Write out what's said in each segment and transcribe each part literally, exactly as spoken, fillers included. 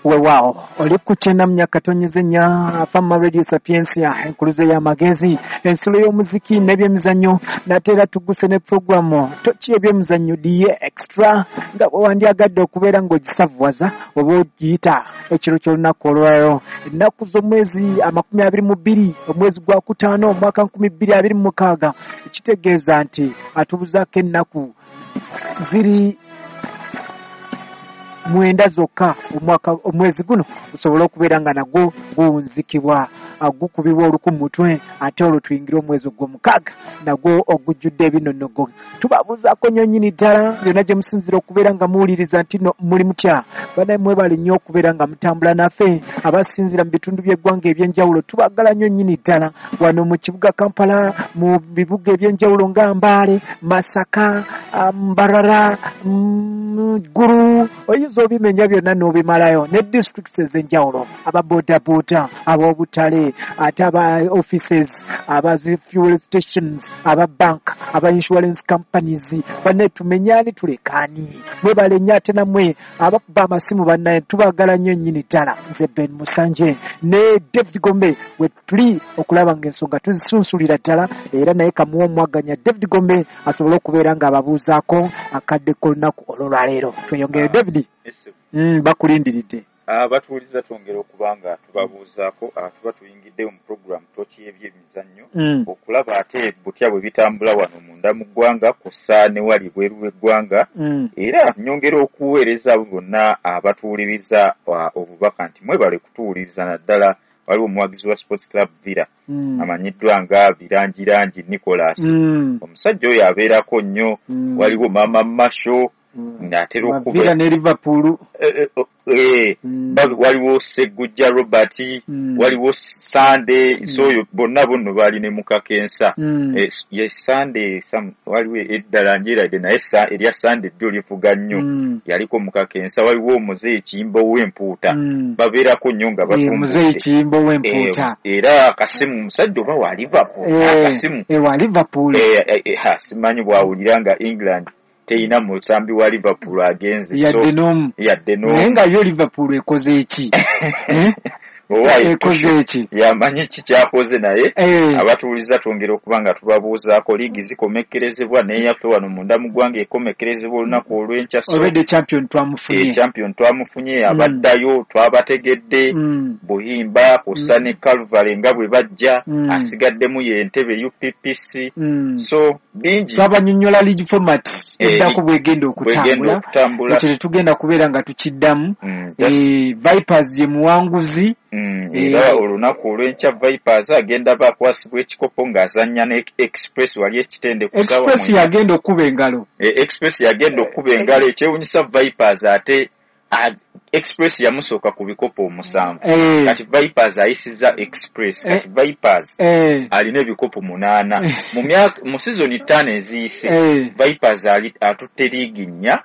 Weewaawo, oli ku kyenda mu nyakatonyeze nnya Fama Radio Sapientia, enkuluze y'amagezi, ensulo y'omuziki n'ebyemizannyo. Nate era tuguse ne puroguramu toki ebyemizannyo diye extra, nga bwe wandyagadde okubeera ng'ogisavuwaza oba ogiyita ekiro ky'olunaku olwayo, ennaku z'omwezi amakumi abiri mu bbiri omwezi gwa kutaano omwaka nkumi bbiri abiri mu mukaaga. Ekitegeeza nti atubuzaako ennaku ziri mwenda zokka omwaka omwezi guno gusobole okubeera nga nagwo guwunzikibwa, gukubibwa oluku mu mutwe, ate olwo tuyingire omwezi ogw'omukaaga nagwo ogujjudde ebinonogo. Tubabuuzaako nnyo nnyini ddala yonna gye musinziira okubeera nga muwuliriza nti no muli mutya. Bannaye, mwebale nnyo okubeera nga mutambula naffe abasinziira mu bitundu by'eggwanga eby'enjawulo. Tubagala nnyo nnyini ddala wano mu kibuga Kampala, mu bibuga eby'enjawulo nga Mbale, Masaka, Mbarara, Ggulu, oyinza obimenya byonna n'obimalayo, ne districts ez'enjawulo, aba bodaboda, ab'obutale, ate aba offices, aba fuel stations, aba bank, aba insurance companies. Bannaye, tumenyani tulekaani? Mwebale nnyo. Ate nammwe abakuba amasimu, bannaye, tubagala nnyo nnyini ddala. Nze Ben Musanje ne David Gombe we tuli okulaba ng'ensonga tuzisunsulira ddala, era naye kamuwa omwaganya David Gombe asobole okubeera ng'ababuuzaako akadde k'olunaku olwolwaleero. Tweyongere, David. mm, bakulindiridde. Abatuwuliza, twongera okuba nga tubabuuzaako. Tuba tuyingiddewo mu puroguramu toki y'ebyemizannyo mm. okulaba ate butya bwe bitambula wano munda mu ggwanga kw'ossa ne wali bweru w'eggwanga. Mm. Era nyongera okuweereza abo bonna abatuwuliriza obubaka nti mwebale kutuwuliriza. Naddala waliwo omuwagizi wa Sports Club Villa Mm. amanyiddwa nga Birangirangi Nicholas. Mm. Omusajja oyo abeerako nnyo. Mm. Waliwo Mama Masho Mm. ng'atera okuba Villa ne Liverpool. Eh, eh, eh, Mm. babi- waliwo Seggujja Robert, Mm. waliwo Sande. So oyo bonna bonno baali ne mukakensa. Mm. Eh, ye Sande sam- waliwo eddala njeradde naye sa- erya Sande ddyo livuga nnyo. Mm. Yaliko mukakensa. Waliwo omuzeeyi Kiyimba ow'empuuta. Mm. Babeerako nnyo nga Eh, muzeeyi batumbudde. Kiyimba ow'empuuta. Eh, era akasimu omusajja oba wa Liverpool, Eh, akasimu eh, wa Liverpool. Eh, eh, eh, ha, simanyi bw'awulira nga England teyina musambi wa Liverpool agenze, so yadde n'omu. Yadde Naye n'omu. nga yo Liverpool ekoze eki? Eh? Owa Ekoze eki? Yamanyi ki kyakoze, naye Eh. abatuwuliza twongera okuba nga tubabuuzaako. Liigi zikomekkerezebwa, neyaffe wano munda mu ggwanga ekomekkerezebwa olunaku olw'enkya, so Already champion twamufunye. Champion twamufunye, abaddayo twabategedde, Mm. Buhimba kw'ossa ne Calvary nga bwe bajja. Mm. Asigaddemu ye Entebe U P P C. Mm. So bingi. Twabanyonnyola league format Eh, eddako bwegenda bwegenda okutambula. Okutambula. Ekyo tetugenda kubeera nga tukiddamu. Mm, just- Eh, Vipers ye muwanguzi. Mm, Eh, era olunaku olw'enkya Vipers agenda bakwasibwa ekikopo ng'azannya ne Express wali ekitende ku ssaawa Express mwenda. Yagenda okuba engalo. Eh, Express yagenda okuba engalo. Ekyewunyisa, Vipers ate a- Express yamusooka ku bikopo omusanvu. Eh, Kati Vipers ayisiza Express. Kati Vipers eh, alina ebikopo munaana mu myaka mu sizoni ttaano eziyise. eh. Vipers ali atutte liigi nnya,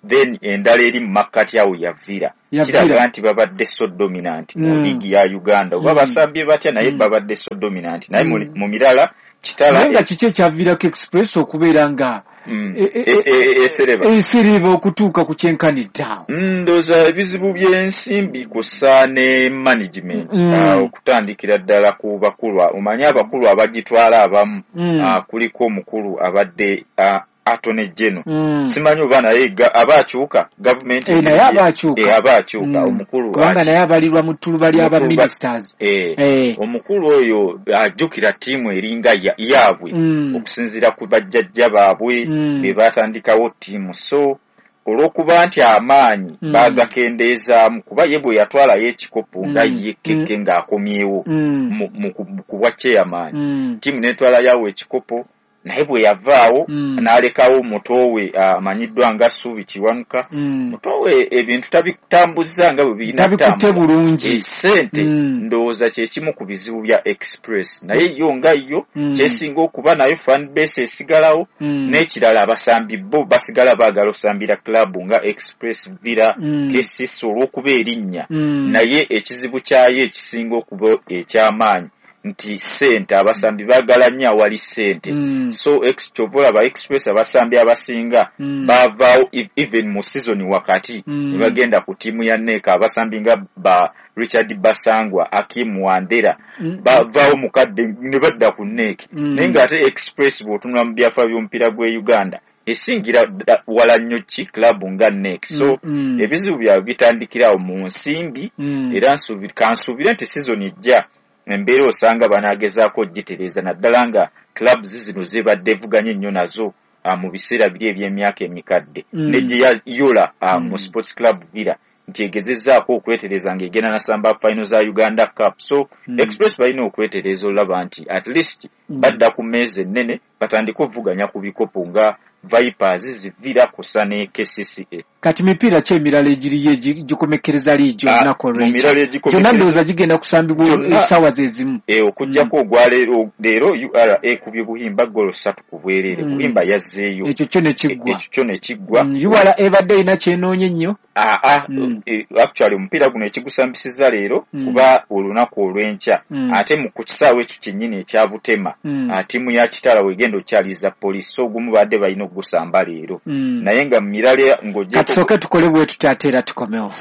then endala eri mu makkati awo ya Villa. Ya Kiraga Villa. nti babadde so dominant mu Mm. liigi ya Uganda, oba Mm. basambye batya, naye Mm. babadde so dominant, naye mu- Mm. mu mirala kitala. Naye nga kiki ekyaviirako Express okubeera nga Mm, e- e- e- e- esereba esereba okutuuka ku kyenkanidde awo? Mm, ndowooza ebizibu by'ensimbi kw'ossa ne management. Mm. Ah, okutandikira ddala ku bakulu, omanyi abakulu abagitwala abamu, Mm. ah, kuliko omukulu abadde ah, Attorney General. Mm. Simanyi oba naye ga- aba akyuka gavumenti. Eh, naye aba akyuka. Eh, aba akyuka. Mm. Omukulu Kubanga aki- naye abalirwa mu ttuluba ly'aba Mu ttuluba- ministers. Eh, Eh. omukulu oyo ajjukira ttiimu eringa ya- yaabwe Mm. okusinziira ku bajjajja baabwe Mm. be batandikawo ttiimu. So olw'okuba nti amaanyi Mm. baagakendeezaamu, kuba ye bwe yatwalayo ekikopo nga Mm. ye keke ng'akomyewo Mm. mu- mu ku- mu kubwa chairman, Mm. ttiimu n'etwalayo ekikopo, naye bwe yavaawo Mm. n'alekawo muto we amanyiddwa nga Suubi Kiwanuka. Mm. Muto we ebintu tabitambuza nga bwe birina Tabikutte kutambula. bulungi. Esente Mm. ndowooza kyekimu ku bizibu bya Express, naye yo nga yo Mm. kyesinga okuba nayo fan base esigalawo. Mm. N'ekirala, abasambi bo basigala baagala osambira club nga Express, Villa, Mm. K C C olw'okuba erinnya. Mm. Naye ekizibu kyayo ekisinga okuba ekyamaanyi Nti ssente, abasambi baagala nnyo awali ssente. Mm. So kyova olaba Express abasambi abasinga Mm. bavaawo e- even mu season wakati Mm. ne bagenda ku ttiimu ya NEC. Abasambi nga ba Richard Basangwa, Akim Wandera Mm. bavaawo mukadde ne badda ku NEC. Mm. Naye ng'ate Express bw'otunula mu byafaayo by'omupiira gw'e Uganda esingira dda wala nnyo ki club nga NEC. So Mm. Mm. ebizibu byabwe bitandikira awo mu nsimbi. Mm. Era nsuubira, kansuubire nti season ejja embeera osanga banaagezaako ogitereeza, naddala nga clubs zino zibadde evuganye nnyo nazo ah, mu biseera biri eby'emyaka emikadde Mm. ne gye yayola ah, mu Mm. Sports Club Villa nti egezezzaako okwetereza ng'egenda nasamba final za Uganda Cup. So Mm. Express balina okwetereza olaba nti at least Mm. badda ku mmeeza ennene, batandike okuvuganya ku bikopo nga Vipers, Zivira kusa ne K C C A. Kati mipiira ki emirala egiriyo egi- gikomekkereza liigi Ah, olunaku mu olw'enkya? mirala Gyonna egikomekkereza ndowooza gigenda kusambibwa Gyonna. essaawa ze zimu. Eh, okuggyako ogwa leero, leero U R A ekubye Buhimba golo ssatu ku bwereere. Mm. Buhimba yazzeeyo. Ekyo kyo ne kiggwa. Ekyo kyo ne kiggwa. Mm, U R A ebadde erina kyenoonya ennyo. Aa, Mm. eh, actually omupiira guno ekigusambisizza leero Mm. kuba olunaku olw'enkya Mm. ate mu ku kisaawe ekyo kyennyini ekya Butema, Mm. ah, ttiimu ya Kitala wegenda okyaliza Poliisi, so ogumu badde balina okugusamba leero. Mm. Naye nga mu mirala ng'oggyeko Katusooke tukole bwe tuti ate era tukomewo.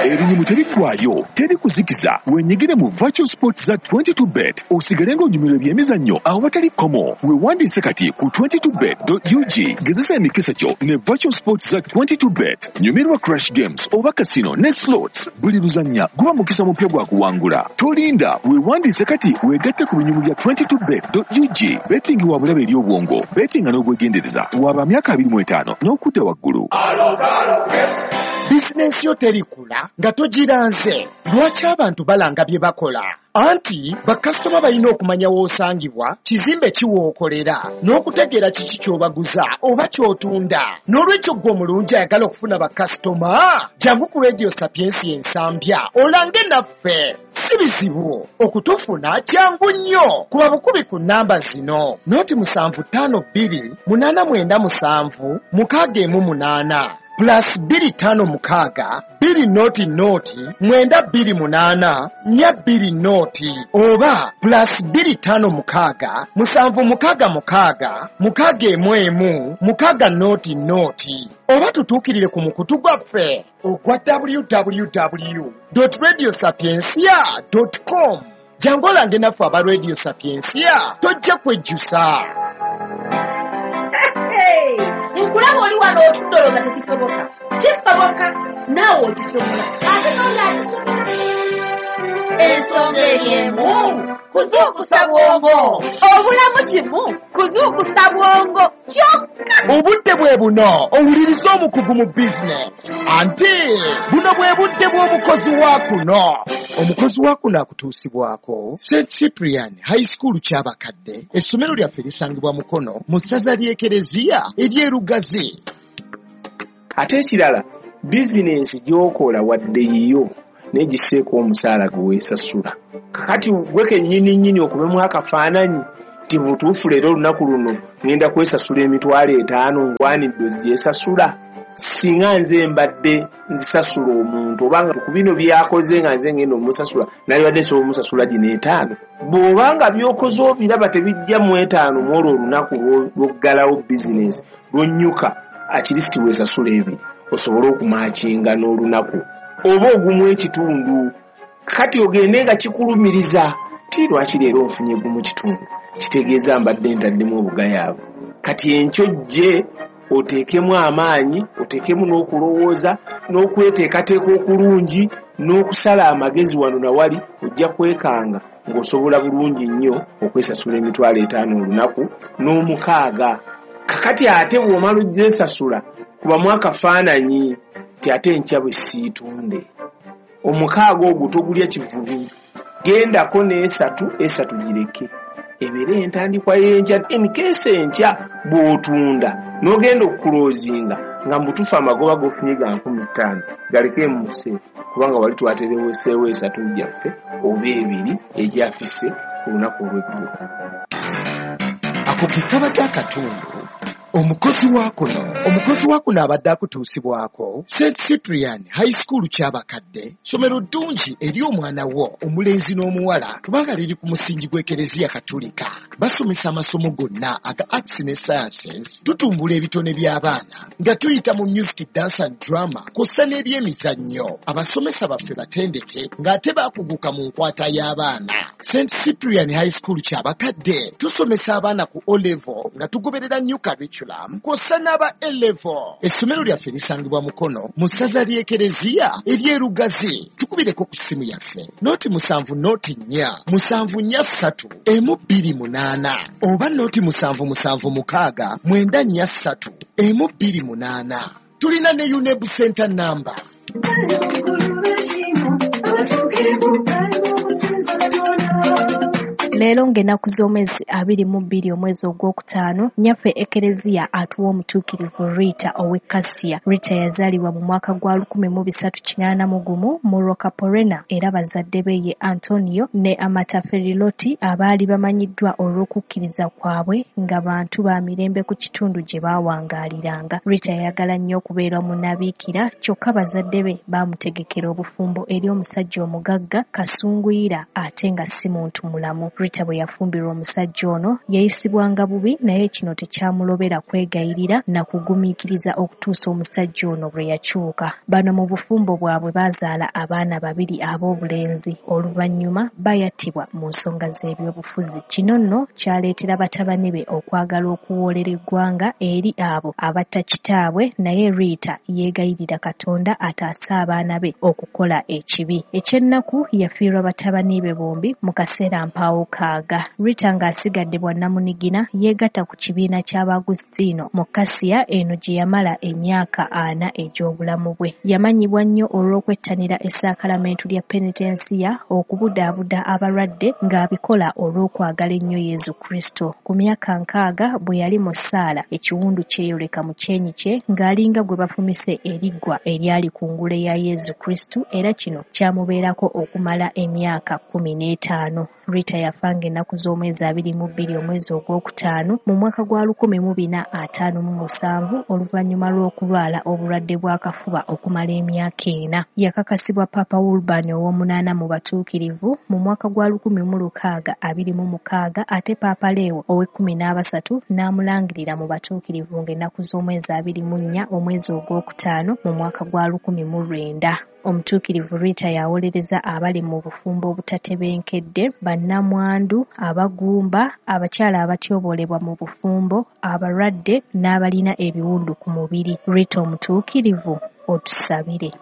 Ebinyumu tebiggwayo, teri kuzikiza. Wenyigire mu virtual sports za twenty-two bet, osigale ng'onyumirwa ebyemizannyo awatali kkomo. Weewandiise kati ku twenty-two bet dot U G. Gezesa emikisa gyo ne virtual sports za twenty-two bet. Nyumirwa crash games oba casino ne slots. Buli luzannya guba mukisa mupya gwa kuwangula. Tolinda, weewandiise kati weegatte ku binyumu bya twenty-two bet dot U G. Betting wa bulabe eri obwongo. Bettinga n'obwegendereza. Waba myaka abiri mu etaano n'okudda waggulu. Bizinensi yo terikula nga togiranze. Lwaki abantu balanga bye bakola? Anti bakasitoma balina okumanya w'osangibwa, kizimbe ki w'okolera, n'okutegeera kiki ky'obaguza oba ky'otunda. N'olwekyo ggwe omulungi ayagala okufuna bakasitoma, jangu ku Radio Sapiensi Ensambya olange naffe. Si bizibu okutufuna, kyangu nnyo. Kuba bukubi ku nnamba zino: noti musanvu ttaano bbiri munaana mwenda musanvu mukaaga emu munaana, plus bbiri ttaano mukaaga bbiri noti noti mwenda bbiri munaana nnya bbiri noti, oba plus bbiri ttaano mukaaga musanvu mukaaga mukaaga mukaaga emu emu mukaaga noti noti, oba tutuukirire ku mukutu gwaffe ogwa W W W radio sapiencia com. Jangu olange naffe aba Radio Sapiencia, tojja kwejjusa. Nkulaba oli wano otudde olowooza tekisoboka. Kisoboka, naawe okisobola, ate n'oli akisobola. Ensonga eri emu: kuzuukusa bwongo. Obulamu kimu kuzuukusa bwongo kyokka. Obudde bwe buno owuliriza omukugu mu bizinesi, anti buno bwe budde bw'omukozi wa kuno. Omukozi wa kuno akutuusibwako Saint Cyprian High School Kyabakadde. Essomero lyaffe lisangibwa Mukono mu ssaza ly'Ekereziya ery'Erugazi. Ate ekirala, bizinensi gy'okola wadde yiyo, naye giseeko omusaala gwe weesasula. Kakati gwe kennyini nnyini okubemu akafaananyi nti butuufu leero olunaku luno ŋŋenda kwesasula emitwalo etaano, ngwanidde ogyesasula. Singa nze mbadde nzisasula omuntu, obanga ku bino byakoze nga nze ngenda omusasula, nalibadde nsobola omusasula gino etaano. Bw'obanga by'okoze obiraba tebijja mu etaano mu olwo olunaku lw'oggalawo bizinensi lw'onnyuka, at least weesasula ebiri osobole okumakinga n'olunaku oba ogumu ekitundu. Kati ogende nga kikulumiriza ti lwaki leero nfunye gumu kitundu, kitegeeza mbadde ntaddemu obugayaavu. Kati enkyo jje oteekemu amaanyi, oteekemu n'okulowooza n'okweteekateeka okulungi n'okusala amagezi wano na wali, ojja kwekanga ng'osobola bulungi nnyo okwesasula emitwalo etaano olunaku n'omukaaga. Kakati ate bw'omala ogyesasula, kubamu akafaananyi nti ate enkya bwe siitunde omukaaga ogwo togulya kivubi, gendako n'esatu, esatu gireke ebeere entandikwa y'enkya. In case enkya bw'otunda n'ogenda okukuloozinga nga mubutuufu amagoba g'ofunye ga nkumi ttaano, galeke muse, kubanga wali twatereweseewo esatu gyaffe oba ebiri egyafise ku lunaku olw'eggulo. Ako ke kabadde akatundu Omukozi wa kuno omukozi wa kuno abadde akutuusibwako Saint Cyprian High School Kyabakadde, ssomero ddungi eri omwana wo omulenzi n'omuwala kubanga liri ku musingi gw'Ekereziya Katulika. Basomesa amasomo gonna aga arts ne sciences, tutumbula ebitone by'abaana nga tuyita mu music, dance and drama kw'ossa n'ebyemizannyo. Abasomesa baffe batendeke ng'ate baakuguka mu nkwata y'abaana. Saint Cyprian High School Kyabakadde tusomesa abaana ku O level nga tugoberera new curriculum kw'ossa n'aba A level. Essomero lyaffe lisangibwa Mukono mu ssaza ly'Ekereziya ery'e Lugazi. Tukubireko ku ssimu yaffe noti musanvu noti nnya musanvu nnya ssatu emu bbiri munaana oba noti musanvu musanvu mukaaga mwenda nnya ssatu emu bbiri munaana. Tulina ne UNEB Center number. Leero ng'ennaku z'omwezi abiri mu bbiri omwezi ogwokutaano, nnyaffe Ekereziya atuwa omutuukirivu Rita ow'e Kasiya. Rita yazaalibwa mu mwaka gwa lukumi mu bisatu kinaana mu gumu mu Roccaporena era bazadde be ye Antonio ne Amata Feriloti abaali bamanyiddwa olw'okukkiriza kwabwe nga bantu ba mirembe ku kitundu gye baawangaaliranga. Rita yayagala nnyo okubeera munnabiikira kyokka bazadde be baamutegekera obufumbo eri omusajja omugagga Kasunguyira ate nga si muntu mulamu. Rita bwe yafumbirwa omusajja ono yayisibwanga bubi naye kino tekyamulobera kwegayirira na kugumiikiriza okutuusa omusajja ono bwe yakyuka. Bano mu bufumbo bwabwe baazaala abaana babiri ab'obulenzi, oluvannyuma bayattibwa mu nsonga z'ebyobufuzi. Kino nno kyaleetera batabani be okwagala okuwoolera eggwanga eri abo abatta kitaabwe, naye Rita yeegayirira Katonda ataase abaana be okukola ekibi. Ekyennaku yafiirwa batabani be bombi mu kaseera mpaawo kaaga. Rita ng'asigadde bwannamunigina yeegatta ku kibiina ky'Abaagusitiino mu Kasiya eno gye yamala emyaka ana egy'obulamu bwe. Yamanyibwa nnyo olw'okwettanira essaakalamentu lya penitensiya, okubudaabuda abalwadde ng'abikola olw'okwagala ennyo Yesu Kristo. Ku myaka nkaaga bwe yali mu ssaala, ekiwundu kyeyoleka mu kyenyi kye ng'alinga gwe bafumise eriggwa eryali ku ngule ya Yesu Kristo, era kino kyamubeerako okumala emyaka kkumi n'etaano. Rita yafa ng'ennaku z'omwezi abiri mu bbiri omwezi ogwokutaano mu mwaka gwa lukumi mu bina ataano mu musanvu oluvannyuma lw'okulwala obulwadde bw'akafuba okumala emyaka ena. Yakakasibwa Papa Urban ow'omunaana mu batuukirivu mu mwaka gwa lukumi mu lukaaga abiri mu mukaaga ate Papa Leo ow'ekkumi n'abasatu n'amulangirira mu batuukirivu ng'ennaku z'omwezi abiri mu nnya omwezi ogwokutaano mu mwaka gwa lukumi mu lwenda. Omutuukirivu Rita yawolereza abali mu bufumbo obutatebenkedde, bannamwandu, abagumba, abakyala abatyoboolebwa mu bufumbo, abalwadde n'abalina ebiwundu ku mubiri. Rita omutuukirivu, otusabire.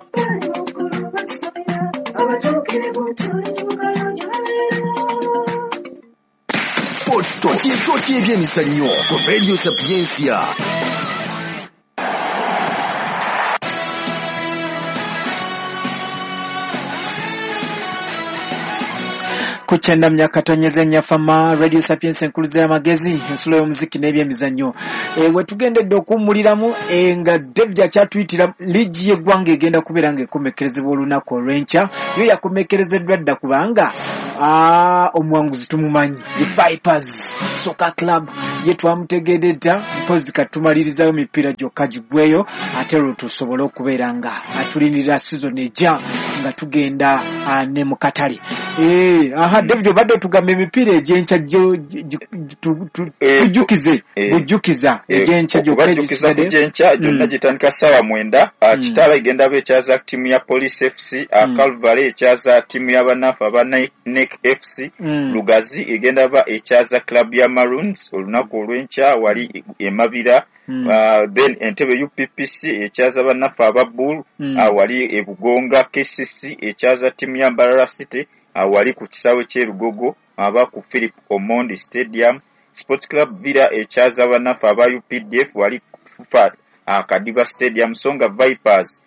Sports Talk, Toti ebyemizannyo ku Radio Sapientia. Kuchenda myakatonyeze nyafama Radio Sapiens enkuluze y'amagezi ensulo y'omuziki n'ebyemizannyo. E, we tugendedde okuwummuliramu e, nga David akyatuyitira liigi y'eggwanga egenda kubeera ng'ekomekkerezebwa olunaku olw'enkya. Yo yakomekkerezeddwa dda kubanga aa omuwanguzi tumumanyi, ye Vipers Soccer Club ye twamutegedde dda, mpozi katumalirizayo mipiira gyokka giggweyo ate olwo tusobole okubeera nga atulindirira season ejja nga tugenda ne mu katale. Eh, aha David obadde otugamba emipiira egy'enkya tujjukize bujjukiza egy'enkya gyokka egisigadde. Egy'enkya gyonna gitandika ssaawa mwenda. Kitala egenda ba ekyaza ttiimu ya Police F C, Calvary ekyaza ttiimu y'abanafu aba N E C F C, Lugazi egenda ba ekyaza club ya Maroons olunaku olw'enkya wali e Mabira. Uh, then Entebbe U P P C ekyaza bannaffe aba Bull mm. uh, wali e Bugonga. K C C ekyaza ttiimu ya Mbarara City uh, wali ku kisaawe ky'e Lugogo aba ku Philip Omondi Stadium. Sports Club Villa ekyaza bannaffe aba U P D F wali ku uh, Kadiba Stadium. Songa Vipers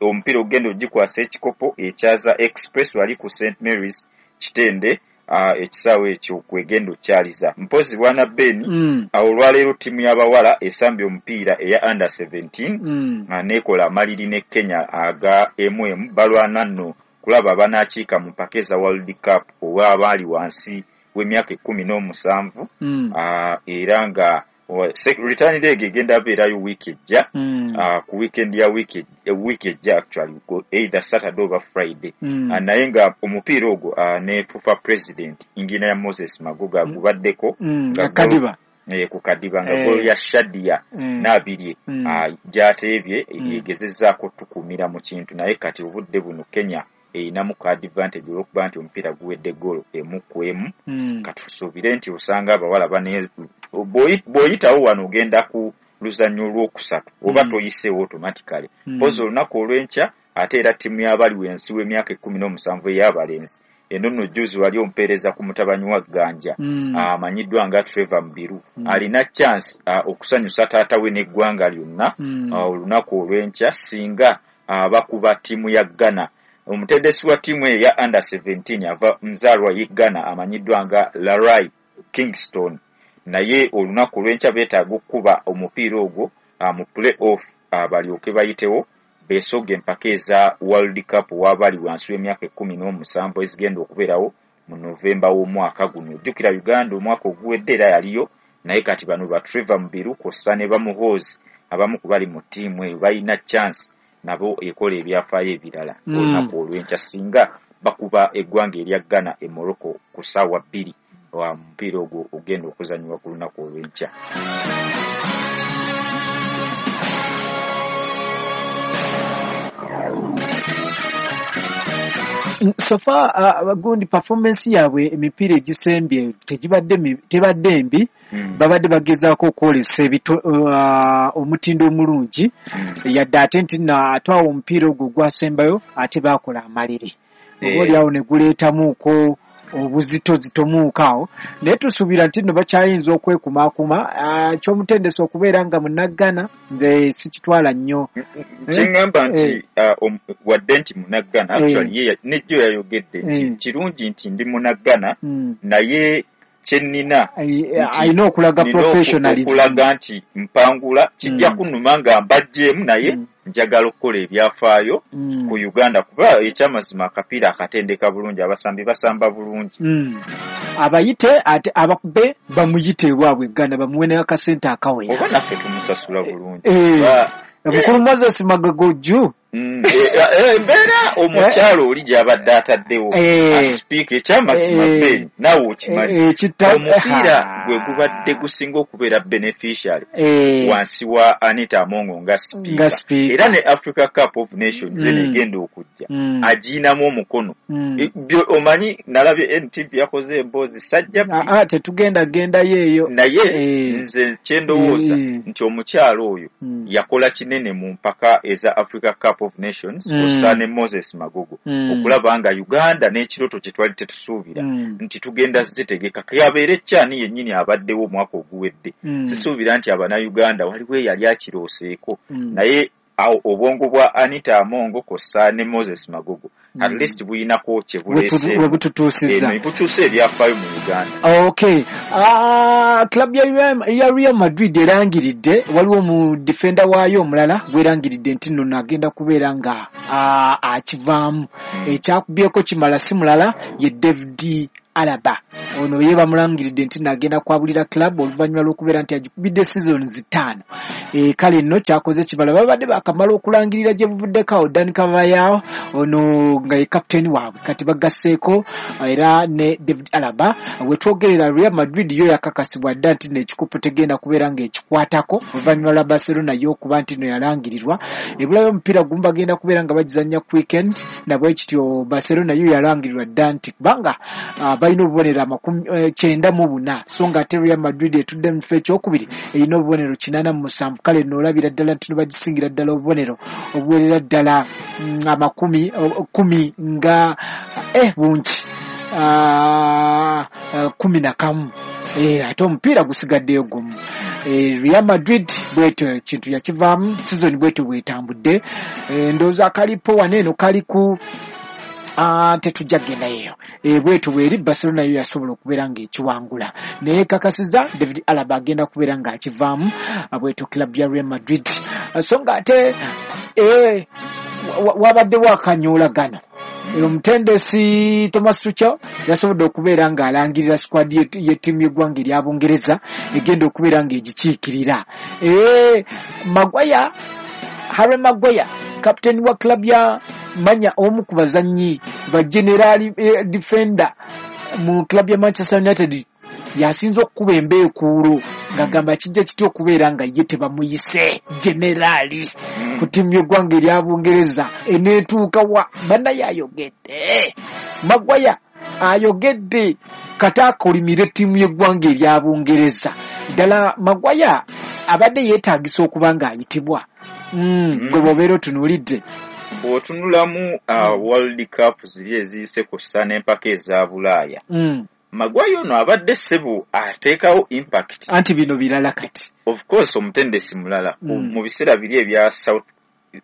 omupiira ogenda ogikwasa ekikopo ekyaza Express wali ku Saint Mary's Kitende. Uh, ekisaawe ekyo kwegenda okyaliza. Mpozi bwana Ben mm. uh, olwaleero ttiimu y'abawala esambye omupiira eya under seventeen mm. uh, nekola amaliri ne Kenya aga M M balwana nno kulaba banaakiika mu mpaka eza World Cup ow'abaali wansi w'emyaka ekkumi n'omusanvu mm. uh, era nga Return leg egenda beerayo wiiki ejja, ku weekend ya wiiki ejja actually, either Saturday oba Friday. Naye nga omupiira ogwo ne FUFA president Engineer Moses Magoga gubaddeko nga Kadiba, ku Kadiba nga goal ya Shadia Nabirye gy'ateebye egezezzaako tukuumira mu kintu, naye kati obudde buno Kenya erinamu ka advantage olw'okuba nti omupiira guwedde goal emu ku emu. Katusuubire nti osanga abawala bane bw'oyitawo wano ogenda ku luzannya olwokusatu oba toyiseewo automatically. Mpozi olunaku olw'enkya ate era ttiimu y'abali wansi w'emyaka ekkumi n'omusanvu ey'abalenzi eno nno jjuuzi wali ompeereza ku mutabanyi wa Ganja amanyiddwa nga Trevor Mubiru, alina chance okusanyusa taata we n'eggwanga lyonna olunaku olw'enkya singa bakuba ttiimu ya Ghana. Omutendesi wa ttiimu eyo ya under seventeen ava nzaalwa ye Ghana amanyiddwa nga Larai Kingston, naye olunaku olw'enkya beetaaga okukuba omupiira ogwo mu play off balyoke bayitewo beesoga empaka eza World Cup w'abali wansi w'emyaka ekkumi n'omusanvu ezigenda okubeerawo mu Novemba w'omwaka guno. Ojjukira Uganda omwaka oguwedde era yaliyo, naye kati bano ba Trevor Mubiru kw'ossa ne Bamuhoozi abamu ku bali mu ttiimu eyo balina chance nabo ekola ebyafaayo ebirala olunaku olw'enkya singa bakuba eggwanga erya Ghana e Morocco ku ssaawa bbiri omupiira ogwo ogenda okuzannyibwa ku lunaku olw'enkya. So far uh, gundi performance yaabwe emipiira egisembye tegibadde tebadde mbi, babadde bagezaako okwolesa uh, omutindo omulungi, yadde ate nti ate awo omupiira ogwo gwasembayo ate baakola amaliri oba oliawo ne guleetamuuko obuzitozitomuuko awo, naye tusuubira nti nno bakyayinza okwekumaakuma. Ky'omutendesi okubeera nga munnaggana nze sikitwala nnyo. Kyeŋŋamba nti wadde nti munnaggana actually ye nejjo yayogedde nti kirungi nti ndi munnaggana, naye kye nnina alina okulaga professionalism, okulaga nti mpangula kijja kunnuma nga mbaggyemu, naye njagala okukola ebyafaayo ku Uganda kuba ekyamazima akapiira akatendeka bulungi, abasambi basamba bulungi. Abayite ate abakube bamuyite ewaabwe Uganda bamuwe n'akasente akawera, oba naffe tumusasula bulungi. Mukulu Moses Magogo jju embeera omukyalo oli gy'abadde ataddewo asipiika ekyamazima Ben naawe okimanyi omupiira gwe gubadde gusinga okubeera beneficiary wansi wa Anita Amongo nga sipiika, era ne Africa Cup of Nations eno egenda okujja agiinamu omukono. Omanyi nalabye N T V yakoze emboozi sajja tetugenda gendayo eyo, naye nze kyendowooza nti omukyalo oyo yakola kinene mu mpaka eza Africa Cup of Nations kw'ossa ne Moses Magogo okulaba nga Uganda n'ekiroto kye twali tetusuubira nti tugenda zitegeka yabeere kyani yennyini abaddewo omwaka oguwedde. Sisuubira nti Abannayuganda waliwo eyali akirooseeko, naye awo obwongo bwa Anita Amongo kw'ossa ne Moses Magogo at least buyinako kye buleese we bututuusizza butuuse ebyafaayo mu Uganda. Okay, club ya Real Madrid erangiridde waliwo mu defender waayo omulala gwerangiridde nti nno agenda kubeera nga akivaamu, ekyakubyeko kimala si mulala ye David Alaba. Ono ye bamulangiridde nti nagenda kwabulira club oluvannyuma lw'okubeera nti agikubidde seasons ttaano. E, kale nno kyakoze kibala babadde bakamala okulangirira gye buvuddeko awo Dani Carvajal ono nga ye captain waabwe kati bagasseeko era ne David Alaba. Wetwogerera Real Madrid yo yakakasibwa dda nti n'ekikopo tegenda kubeera ng'ekikwatako oluvannyuma lwa Barcelona yo okuba nti no yalangirirwa. Ebulayo omupiira gumu bagenda kubeera nga bagizannya ku weekend, nabwe kityo Barcelona yo yalangirirwa dda nti kubanga balina obubonero amakumi kyenda mu buna, so nga ate Real Madrid etudde mu kifo ekyokubiri erina obubonero kinaana mu musanvu. Kale n'olabira ddala nti no bagisingira ddala obubonero obuwerera ddala amakumi kumi nga eh bungi kumi na kamu, ate omupiira gusigaddeyo gumu. Real Madrid bwetyo kintu yakivaamu, season bwetyo bwetambudde. Ndowooza akalipo wano eno kali ku tetujja kugendayo eyo, bwetyo bweri Barcelona yo yasobola okubeera ng'ekiwangula, naye kakasiza David Alaba agenda kubeera ng'akivaamu bwetyo club ya Real Madrid. So nga ate wabaddewo akanyoolagano Omutendesi Thomas Tuchel yasobodde okubeera ng'alangirira squad y'ettiimu y'eggwanga erya Bungereza egenda okubeera ng'egikiikirira. Eh, Maguire, Harry Maguire, captain wa club ya manya omu ku bazannyi ba general eh, defender mu club ya Manchester United, yasinze okukuba embeekuulo ng'agamba kijja kitya okubeera nga ye tebamuyise generaali ku ttiimu y'eggwanga erya Bungereza eneetuuka wa. Bannaye ayogedde, Maguire ayogedde kata akolimire ttiimu y'eggwanga erya Bungereza. Ddala Maguire abadde yeetaagisa okuba ng'ayitibwa. Mm, gwe bw'obeera otunuulidde bw'otunulamu uh, World Cup ziri eziyise ku ssa n'empaka eza Bulaaya, mm. Maguire ono abadde ssebo ateekawo impact. Anti bino birala kati. Of course omutendesi mulala Mm. mu biseera biri ebya South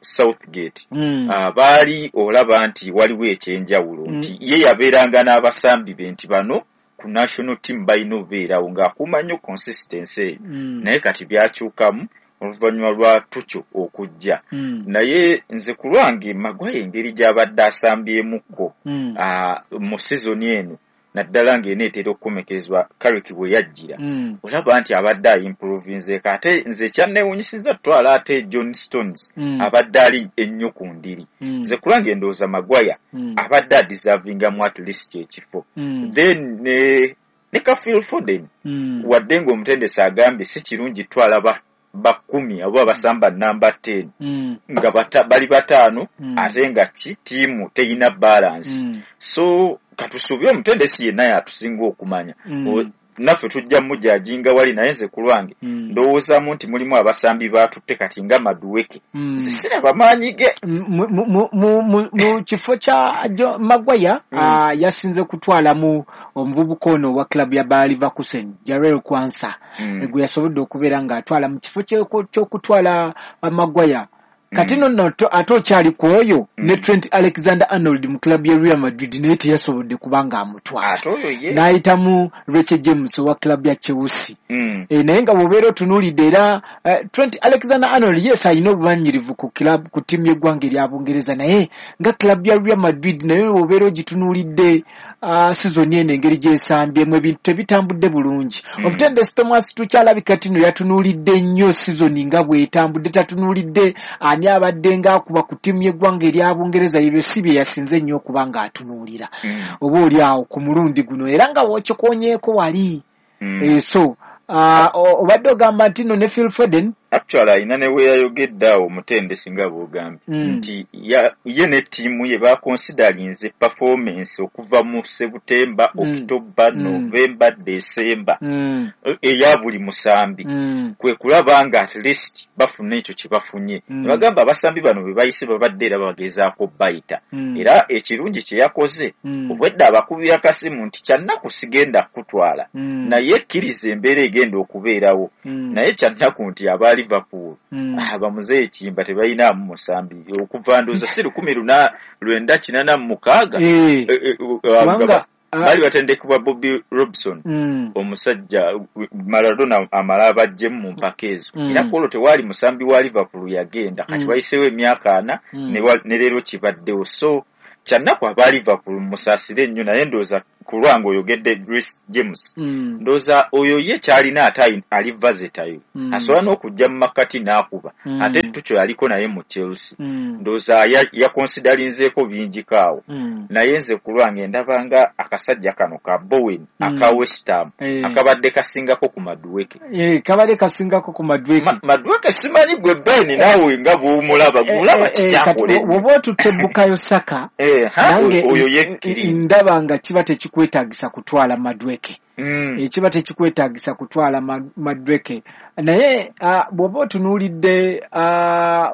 Southgate Mm. uh, baali olaba nti waliwo ekyenjawulo Mm. nti ye yabeeranga n'abasambi be nti bano ku national team balina obeerawo ng'akuuma nnyo consistency eyo. Mm. Naye kati byakyukamu oluvannyuma lwa Tuchel okujja. Mm. Naye nze ku lwange Maguire engeri gy'abadde asambyemukko Mm. uh, mu sizoni eno naddala ng'eneetera okukomekezebwa Carrick bwe yajjira, Mm. olaba nti abadde ayimprovinzeeko. Ate nze ekyanneewuunyisizza tutwala ate John Stones Mm. abadde ali ennyo ku ndiri. Mm. Nze ku lwange ndowooza Maguire Mm. abadde adeservingamu at least ekifo. Mm. Then ne ne ka Phil Foden Mm. wadde ng'omutendesi agambye si kirungi twala ba bakumi oba basamba namba ten Mm. nga bata, bali bataano Mm. ate nga ki ttiimu teyina balance. Mm. So katusuubire omutendesi yenna yatusinga okumanya. Mm. O- naffe tujja mujajinga wali, naye nze ku lwange Mm. ndowoozaamu nti mulimu abasambi baatutte kati nga Madueke. Mm. Nze siraba maanyi ge. Mu- mu- mu- mu- mu- mu kifo kya Jo- Maguire Mm. ah, yasinze kutwalamu omuvubuka ono owa club ya Bayer Leverkusen, Jarell Quansah, Mm. gwe yasobodde okubeera ng'atwala mu kifo ky'oku- ky'okutwala Maguire. Kati Mm. nno ate okyali ku oyo Mm. ne Trent Alexander-Arnold mu club ya Real Madrid naye teyasobodde kuba ng'amutwala, Ate oyo ye n'ayitamu Reece James owa club ya Chelsea. Mm. E, naye nga bw'obeera otunuulidde era eh, Trent Alexander-Arnold yes alina obumanyirivu ku club ku ttiimu y'eggwanga erya Bungereza, naye nga club ya Real Madrid naye bw'obeera ogitunuulidde uh, sizoni eno engeri gy'esambyemu ebintu tebitambudde bulungi. Mm. Omutendesi Thomas Tuchel alabika tino yatunuulidde nnyo sizoni nga bw'etambudde, tatunuulidde ani abadde ng'akuba ku ttiimu y'eggwanga erya Bungereza, ebyo si bye yasinze nnyo okuba ng'atunuulira Mm. oba oli awo ku mulundi guno, era nga w'okikonyeeko wali. Mm. Eh, so uh, obadde ogamba nti nno ne Phil Foden Actually alina ne we yayogedde awo omutendesi nga bw'ogambye Mm. nti ya- ye ne ttiimu ye bakonsidalinze performance okuva mu September, Mm. October, Mm. November, December mm. e- eya buli musambi Mm. kwe kulaba nga at least bafuna ekyo kye bafunye. Mm. Ne bagamba abasambi bano be bayise babadde era bagezaako bayita. Mm. Era ekirungi kye yakoze Mm. obwedda abakubira kasimu nti kyannaku sigenda kutwala Mm. naye kkiriza embeera egenda okubeerawo. Mm. Naye kyannaku nti aba Liverpool Mm. ah, bamuzeeyi Kimba tebalinaamu musambi okuva ndowooza si lukumi luna lwenda kinaana mu mukaaga. Eh, Eh, eh, uh, kubanga nga ah, baali batendekebwa Bobby Robson mm. omusajja Maradona amala abaggyemu mu mpaka ezo. Mm. Era ku olwo tewaali musambi wa Liverpool yagenda kati Mm. wayiseewo emyaka ana Mm. ne wa- ne leero kibaddewo. So kyannaku aba Liverpool musaasire nnyo, naye ndowooza ku lwange oyogedde Reece James Mm. ndowooza oyo ye kyalina ate ayi- ali versatile Mm. asobola n'okujja mu makkati n'akuba Mm. ate Tuchel yaliko naye mu Chelsea Mm. ndowooza ya- yakonsidalinzeeko bingiko awo. Mm. Naye nze ku lwange ndaba nga akasajja kano ka Bowen Mm. aka West Ham Eh. akabadde kasingako ku Madueke. Eh, kabadde kasingako ku Madueke. Ma- Madueke simanyi gwe Ben naawe nga bw'omulaba gw'olaba Eh, eh, kati kikyakole. bw'oba otutte Bukayo Saka Eh, ha, nange oyo yekkiri. ndaba nga kiba tekikwetaagisa kutwala Madueke. Mm. Ekiba tekikwetaagisa kutwala Ma- Madueke, naye ah, bw'oba otunuulidde ah,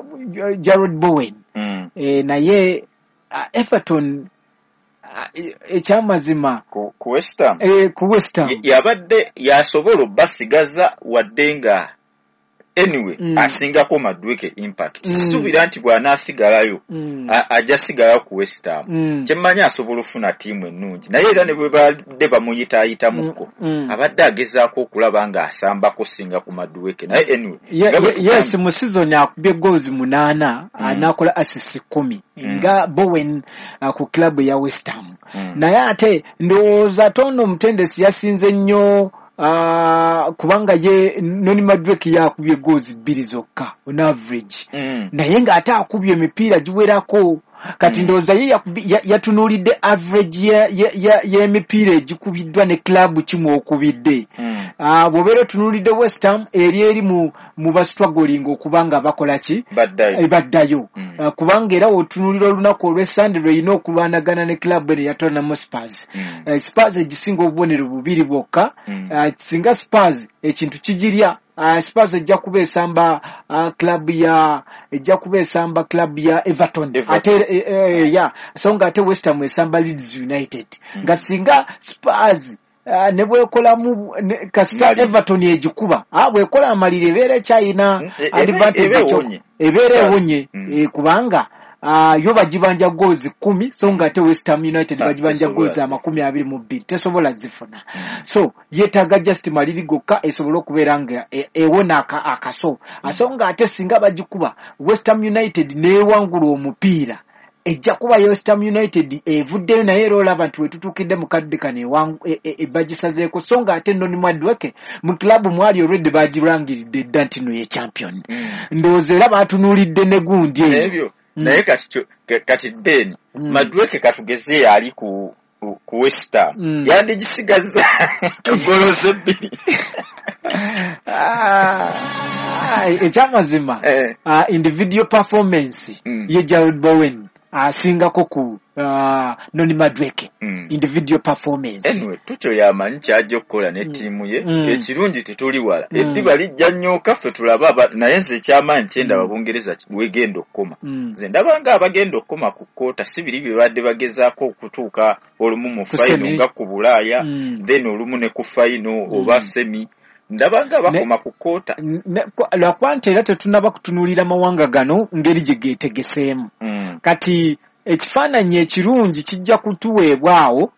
Jarrod Bowen Mm. eh, naye ah, Everton ah, e- ekyamazima Ku, ku West Ham eh, ku West Ham yabadde yasobola obbasigaza wadde nga anyway Mm. asingako Madueke impact. Mm. Sisuubira nti bw'anaasigalayo Mm. a- ajja sigalayo ku West Ham. Mm. Kyemmanyi asobola ofuna ttiimu ennungi, naye era ne bwe badde bamuyitaayitamuko Mm. abadde agezaako okulaba ng'asambako singa ku Madueke, naye anyway Ye- nga bwe ye- yes, tugambye- mu season akubye goals munaana, Mm. n'akola assist kumi Mm. nga Bowen uh, ku club ya West Ham. Mm. Naye ate ndowooza tono omutendesi yasinze nnyo, uh, kubanga ye Noni Madueke yakubye goals bbiri zokka on average, Mm. naye ng'ate akubye emipiira giwerako. Kati Mm. ndowooza ye yakubi- ya- yatunuulidde average ya- ya- ya- y'emipiira egikubiddwa ne club kimu okubidde. Mm. Ah, bw'obeera otunuulidde West Ham eri eri mu mu bastruggling okuba nga bakola ki, Baddayo. Eh, baddayo. Mm. Ah, kubanga era otunuulira olunaku olw'Essande lw'erina okulwanagana ne club eno eya Tottenham Spurs. Mm. Eh, Spurs egisinga obubonero bubiri bwokka. Mm. Ah, singa Spurs ekintu kigirya, ah, Spurs ejja kuba esamba ah, club ya ejja kuba esamba club ya Everton. Everton. Ate eh, eh, ya so nga ate West Ham esamba Leeds United. Mm. Nga singa Spurs Uh, ne bwekolamu ne- kasita Maliri. Everton egikuba, ah, bwekola amaliri ebeera ekyayina Mm, e- ebe- advantage ebe ekyo- ewonye. ebeera Spurs. ewonye. Mm. Eh, kubanga ah, yo bagibanja goals kumi, so nga ate West Ham United Ah, bagibanja tesobola. goals amakumi abiri mu bbiri, tesobola zifuna. So yeetaaga just maliri gokka esobole okubeera nga e- ewona aka- akaso. So nga ate singa bagikuba West Ham United n'ewangula omupiira, ejja kuba West Ham United evuddeyo, naye era olaba nti wetutuukidde mu kadde kano ewangu- e- e- e- bagisazeeko. So nga ate Noni Madueke mu club mwali already bagirangiridde dda nti no ye champion. Mm. Ndowooza era baatunuulidde ne gundi eyo. Ebyo Mm. naye kati kyo- ka- kati Ben Mm. Madueke katugeze ali ku ku- ku West Ham Mm. yandigisigazza goloze bbiri. Ah, ah, ekyamazima Eh. ah, individual performance Mm. ye Jared Bowen asingako ku uh, Noni Madueke. Mm. Individual performance. Anyway, Tuchel yamanyi kyajja okukola ne ttiimu ye. Mm. Ekirungi tetuli wala, Mm. eddiba lijja nnyooka ffe tulabe aba- naye nze ekyamaanyi kyendaba Mm. Bungereza ki- wegenda okukoma. Mm. Nze ndaba nga abagenda okukoma ku kkoota si biri bye badde bagezaako okutuuka olumu mu Ku fayino semi. nga ku Bulaaya, Mm. then olumu ne ku fayino oba semi. Ndaba nga bakoma ku kkoota. Ne- kwa- lwakuba nti era tetunnaba kutunuulira mawanga gano ngeri gye geetegeseemu. Mm. Kati ekifaananyi ekirungi kijja kutuweebwa awo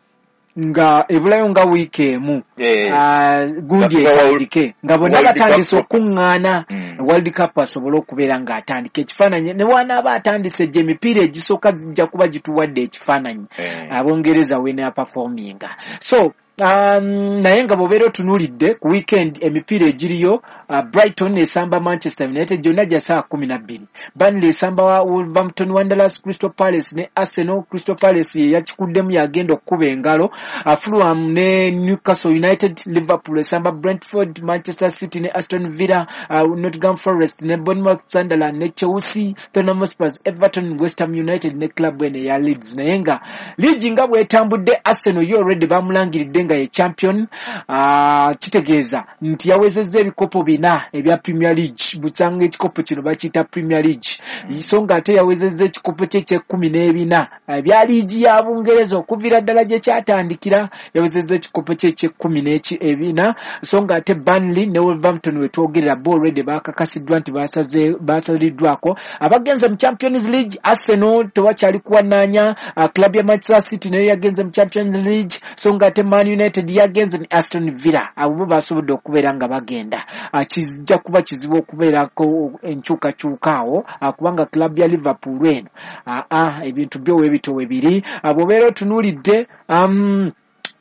nga ebulayo nga wiiki emu, Eh, Ah, gundi Nga tuba etandike nga bonna World Cup batandise proper. okuŋŋaana. Mm. World Cup asobole okubeera ng'atandika ekifaananyi, ne wanaaba atandise gye emipiira egisooka zijja kuba gituwadde ekifaananyi Eh. Abongereza wenaperforminga. So um, naye nga bw'obeera otunuulidde ku weekend emipiira egiriyo, uh, Brighton esamba Manchester United gyonna gya ssaawa kumi na bbiri, Burnley esamba wa- Wolverhampton Wanderers, Crystal Palace ne Arsenal. Crystal Palace ye yakikuddemu yagenda okukuba engalo. uh, Fulham ne Newcastle United, Liverpool esamba Brentford, Manchester City ne Aston Villa, uh, Nottingham Forest ne Bournemouth, Sunderland ne Chelsea, Tottenham Hotspur, Everton, West Ham United ne club eno eya Leeds. Naye nga liigi nga bw'etambudde, Arsenal yo already bamulangiridde nga ye champion. uh, kitegeeza nti yawezezza ebikopo bina ebya Premier League, busanga ekikopo kino bakiyita Premier League, so nga ate yawezezza ekikopo kye eky'ekkumi n'ebina ebya liigi ya Bungereza okuviira ddala gye kyatandikira, yawezezza ekikopo kye eky'ekkumi n'eki ebina. So nga ate Burnley ne Wolverhampton wetwogerera bo already bakakasiddwa nti basaze basaliddwako abagenze mu Champions League. Arsenal tewakyali kuwanaanya, uh, club ya Manchester City nayo yagenze mu Champions League, so nga ate Man United yagenze ne Aston Villa, abo bo basobodde okubeera nga bagenda. Uh, kijja kuba kizibu okubeerako enkyukakyuka awo, uh, kubanga club ya Liverpool eno uh, uh, ebintu byo webito webiri. uh, bw'obeera otunuulidde um,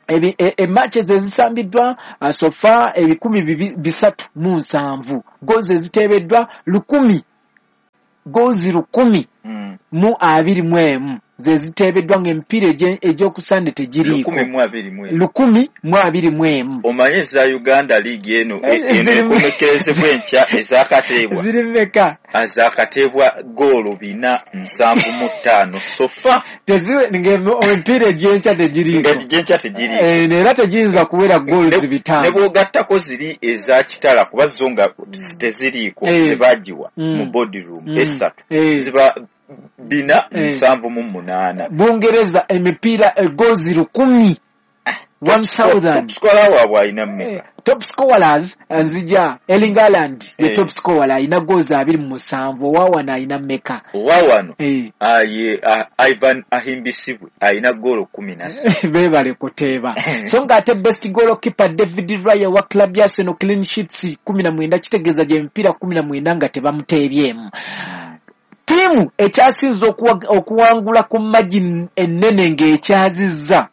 ebi- e- e matches ezisambiddwa uh, so far ebikumi bibi- bisatu mu nsanvu, goals eziteebeddwa lukumi, goals lukumi Mm. mu abiri mu emu ze ziteebeddwa ng'emipiira egye- egy'okusande tegiriiko. Lukumi mu abiri mu emu. Lukumi mu abiri mu emu. Omanye eza Uganda League eno Eh, eno ziri mu- ekomekerezebwa enkya ezakateebwa Ziri mmeka? Azakateebwa goolo bina nsanvu mu ttaano sofa. Teziri- ng'emipiira egy'enkya tegiriiko. Nga gyenkya tegiriiko. Eh, era tegiyinza kuwera goals Ne- bitaano. Ne bw'ogattako ziri eza Kitala kuba zo nga teziriiko, Eh. tebagiwa Mm. mu boardroom Mm. esatu Eh. ziba bina Eh. nsanvu mu munaana. Bungereza emipiira goals lukumi one thousand. Top scorer waabwe alina mmeka? Top scorers nzija Erling Haaland ye Eh. top scorer alina goals abiri mu musanvu. Owawano alina mmeka? Owawano Eh. ah, ye ah, Ivan Ahimbisibwe alina goolo kumi na ssatu. Beebale kuteeba. So ng'ate best goalkeeper David Raya wa club ya Arsenal, clean sheets kumi na mwenda, kitegeeza gye emipiira kumi na mwenda nga tebamuteebyemu. Ttiimu ekyasinze okuwa- okuwangula ku margin ennene ng'ekyazizza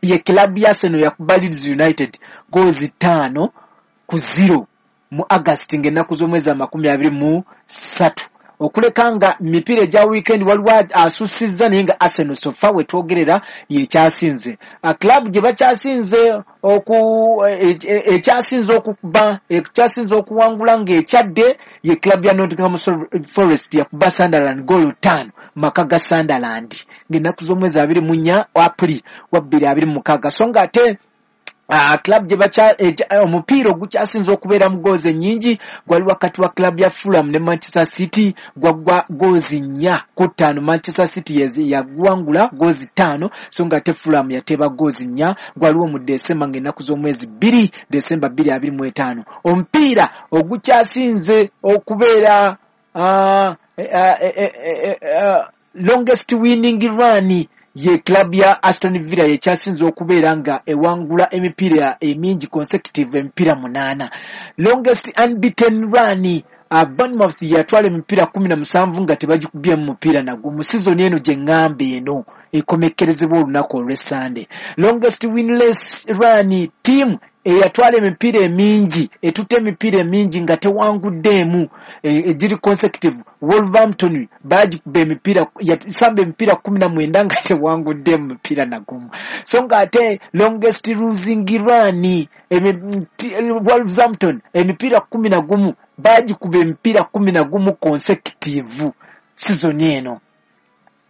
ye club ya Arsenal, yakuba Leeds United goals ttaano ku zero mu August ng'ennaku z'omwezi amakumi abiri mu ssatu. Okuleka nga mipiira egya weekend waliwo asusizza, naye nga Arsenal so far we twogerera yekyasinze. Club gye bakyasinze oku e- e- ekyasinze okuba ekyasinze okuwangula ng'ekyadde ye club ya Nottingham Forest, yakuba Sunderland goolo ttaano maka ga Sunderland ng'ennaku z'omwezi abiri mu nnya April wa bbiri abiri mu mukaaga. So ng'ate Uh, club gye bakya eh, omupiira ogukyasinze okubeera mu goozi ennyingi gwali wakati wa club ya Fulham ne Manchester City, gwaggwa goozi nnya ku ttaano. Manchester City yezi- yaguwangula goozi ttaano, so ng'ate Fulham yateeba goozi nnya. Gwaliwo mu Desemba ng'ennaku z'omwezi bbiri Desemba bbiri abiri mu etaano. Omupiira ogukyasinze okubeera uh, eh, eh, eh, eh, eh, longest winning run ye club ya Aston Villa, yekyasinze okubeera nga ewangula emipiira emingi consecutive, emipiira munaana. Longest unbeaten run, uh, Bournemouth yatwala emipiira kumi na musanvu nga tebagikubyemu mupiira nagwo mu sizoni eno gye ŋŋamba eno ekomekkerezebwa olunaku olw'Essande. Longest winless run, team eyatwala emipiira emingi, etutte emipiira emingi nga tewanguddeemu egiri consecutive, Wolverhampton bagikuba emipiira, yasamba emipiira kumi na mwenda nga tewanguddeemu mupiira nagumu. So ng'ate longest losing run, emi- ti- Wolverhampton emipiira kumi na gumu, bagikuba emipiira kumi na gumu consecutive season eno.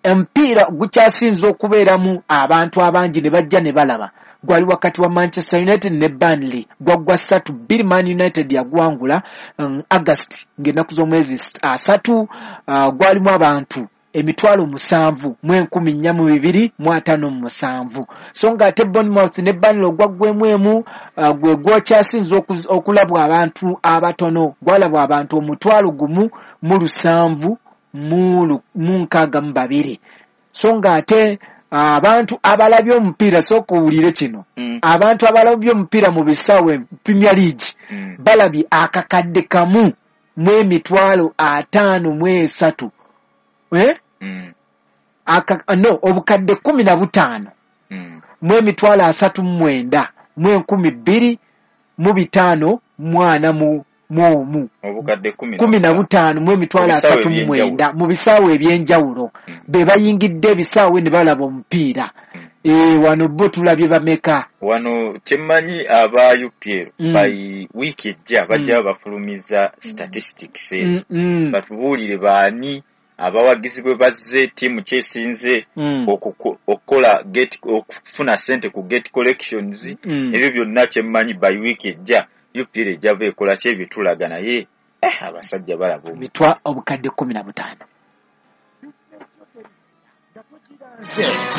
Omupiira gukyasinze okubeeramu abantu abangi ne bajja ne balaba gwali wakati wa Manchester United ne Burnley, gwaggwa ssatu bbiri, Man United yagwangula um, August ng'ennaku z'omwezi asatu. uh, gwalimu abantu emitwalo musanvu mu enkumi nnya mu bibiri mu ataano mu musanvu. So ng'ate Bournemouth ne Burnley ogwaggwemu emu uh, gwe gwokyasinze okulabwa abantu abatono, gwalabwa abantu omutwalo gumu mu lusanvu mu nkaaga mu babiri. So ng'ate abantu abalabye omupiira, sooka owulire kino, mm. abantu abalabye omupiira mu bisaawe Premier League mm. balabye akakadde kamu mu emitwalo ataano mu esatu, eh? mm. Aka, no, obukadde kumi na butaano mm. mu emitwalo asatu mu mwenda mu enkumi bbiri mu bitaano mu ana mu omu. Kumi na butaano mu emitwalo asatu mu mwenda mu bisaawe ebyenjawulo mm. be bayingidde ebisaawe ne balaba omupiira. mm. E, wano bo tulabye bameka? Wano kyemmanyi, aba U P L mm. by wiiki ejja bajja mm. bafulumiza statistics ezo, mm, mm. batubuulire baani abawagizi bwe bazze, ttiimu kyesinze mm. okukola gate, okufuna sente ku gate collections, mm. ebyo byonna. Kyemmanyi by wiiki ejja U P L ejja beekola kyebitulaga, naye eh, abasajja balaba mitwa obukadde kumi na butaano.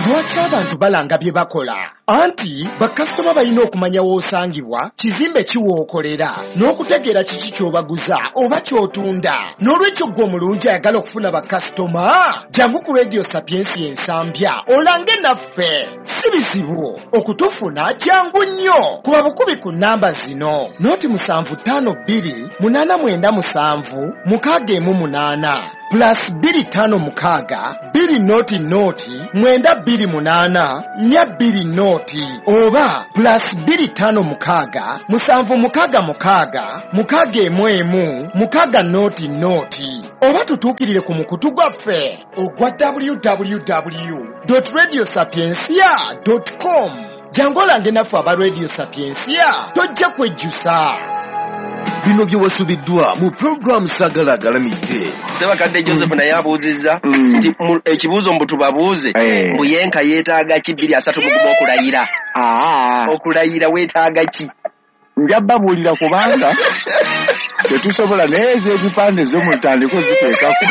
Lwaki abantu balanga bye bakola? Anti bakasitoma balina okumanya w'osangibwa, kizimbe ki w'okolera, n'okutegeera kiki ky'obaguza oba ky'otunda. N'olwekyo ggwe omulungi ayagala okufuna bakasitoma, jangu ku Radio Sapiensi Ensambya olange naffe. Si bizibu okutufuna, jangu nnyo kuba bukubi ku nnamba zino: noti musanvu ttaano bbiri munaana mwenda musanvu mukaaga emu munaana, plus bbiri ttaano mukaaga bbiri noti noti mwenda bbiri munaana nnya bbiri noti, oba plus bbiri ttaano mukaaga musanvu mukaaga mukaaga mukaaga emu emu mukaaga noti noti, oba tutuukirire ku mukutu gwaffe ogwa W W W radio sapiencia com. Jangu olange naffe aba Radio Sapiencia, tojja kwejjusa. Bino bye wasubiddwa mu pulogulaamu Saagala Agalamidde. Sebakadde Joseph naye abuuzizza nti mu- ekibuuzo mbu tubabuuze, Eh. mbu yenka yeetaaga ki bbiri asatu mu gumu okulayira? Aa, okulayira weetaaga ki? Nja babuulira kubanga Tetusobola, naye ez'ebipande zo mutandike ziteekako.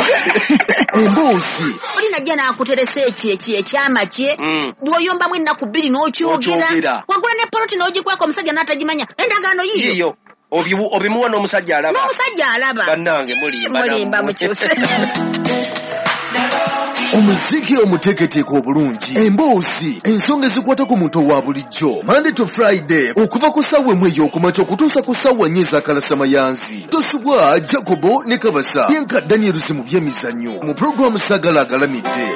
Emboozi Oli najja n'akuteresa ekyo ekyo ekyama kye, Mm. bw'oyombamu ennaku bbiri n'okyogera. Okyogera. Wagula ne poloti n'ogikweka omusajja n'atagimanya, endagaano yiyo. Yiyo. Obimu- obimuwa n'omusajja alaba. N'omusajja alaba. Bannange mulimba. Mulimba mukyuse. Omuziki omuteeketeeke obulungi, emboozi, ensonga ezikwata ku muntu owa bulijjo, Monday to Friday okuva ku ssaawa emu ey'okumakya okutuusa ku ssaawa nnya ez'akalasamayanzi. Tosubwa Jacobo ne Kabasa yenka Daniels mu byemizannyo mu pulogulaamu Sagala Agalamidde.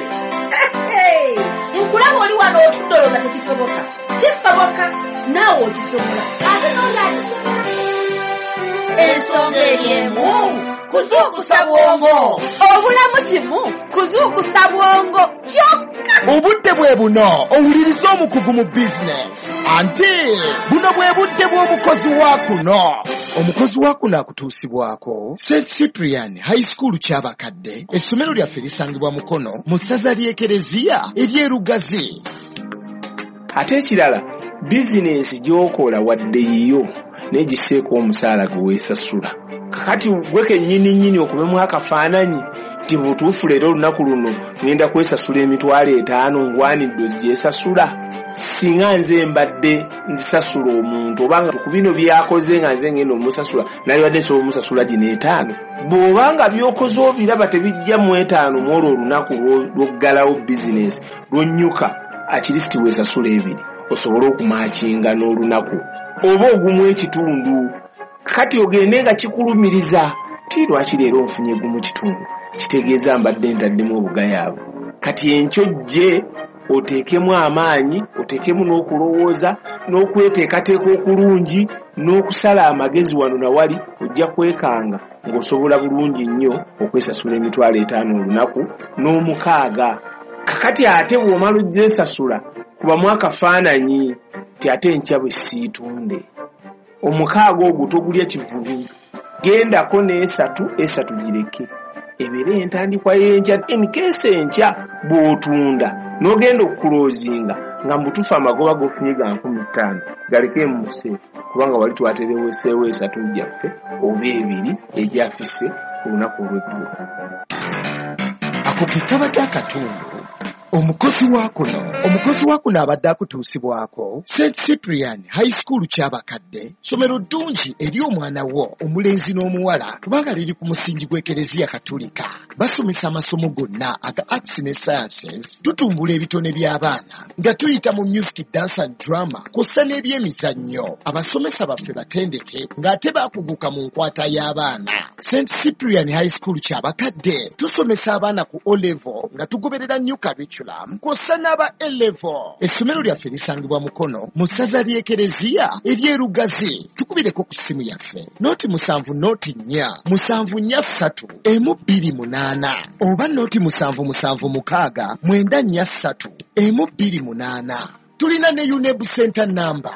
Hey, nkulaba oli wano otudde olowooza tekisoboka. Kisoboka, naawe okisobola, ate n'oli akisobola. Ensonga eri emu, kuzuukusa bwongo. Obulamu kimu kuzuukusa bwongo kyokka. Obudde bwe buno owuliriza omukugu mu bizinesi, anti buno bwe budde bw'omukozi wa kuno. Omukozi wa kuno akutuusibwako Saint Cyprian High School Kyabakadde. Essomero lyaffe lisangibwa Mukono mu ssaza ly'Ekereziya ery'Erugazi. Ate ekirala, bizinensi gy'okola wadde yiyo, naye gisseeko omusaala gwe weesasula. Kakati gwe kennyini nnyini okubemu akafaananyi nti butuufu leero olunaku luno ŋŋenda kwesasula emitwalo etaano, ngwanidde ogyesasula. Singa nze mbadde nzisasula omuntu, obanga ku bino by'akoze nga nze ŋŋenda omusasula, nalibadde nsobola omusasula gino etaano. Bw'obanga by'okoze obiraba tebijja mu etaano mu olwo olunaku lw'oggalawo bizinensi lw'onnyuka, akirisiti weesasula ebiri osobole okumakinga n'olunaku oba ogumu ekitundu. Kati ogende nga kikulumiriza ti lwaki leero nfunye gumu kitundu, kitegeeza mbadde ntaddemu obugayaavu. Kati enkyo jje oteekemu amaanyi, oteekemu n'okulowooza n'okweteekateeka okulungi n'okusala amagezi wano na wali, ojja kwekanga ng'osobola bulungi nnyo okwesasula emitwalo etaano olunaku n'omukaaga. Kakati ate bw'omala ogyesasula, kubamu akafaananyi nti ate enkya bwe siitunde omukaaga ogwo togulya kivubi, gendako n'esatu, esatu gireke ebeere entandikwa y'enkya. Enkeesa enkya bw'otunda n'ogenda okukuloozinga nga mubutuufu amagoba g'ofunye ga nkumi ttaano, galeke mu museefu, kubanga wali twatereweseewo esatu gyaffe oba ebiri egyafise ku lunaku olw'eggulo. Ako ke kabadde akatundu omukozi wa kuno. Omukozi wa kuno abadde akutuusibwako Saint Cyprian High School Kyabakadde. Ssomero ddungi eri omwana wo omulenzi n'omuwala, kubanga liri ku musingi gw'Ekereziya Katulika. Basomesa amasomo gonna aga arts ne sciences. Tutumbula ebitone by'abaana nga tuyita mu music, dance and drama kw'ossa n'ebyemizannyo. Abasomesa baffe batendeke ng'ate baakuguka mu nkwata y'abaana. Saint Cyprian High School Kyabakadde tusomesa abaana ku O level nga tugoberera new curriculum kw'ossa n'aba A level. Essomero lyaffe lisangibwa Mukono mu ssaza ly'Ekereziya ery'Erugazi. Tukubireko ku ssimu yaffe noti musanvu noti nnya musanvu nnya ssatu emu bbiri munaana oba noti musanvu musanvu mukaaga mwenda nnya ssatu emu bbiri munaana. Tulina ne UNEB Center number.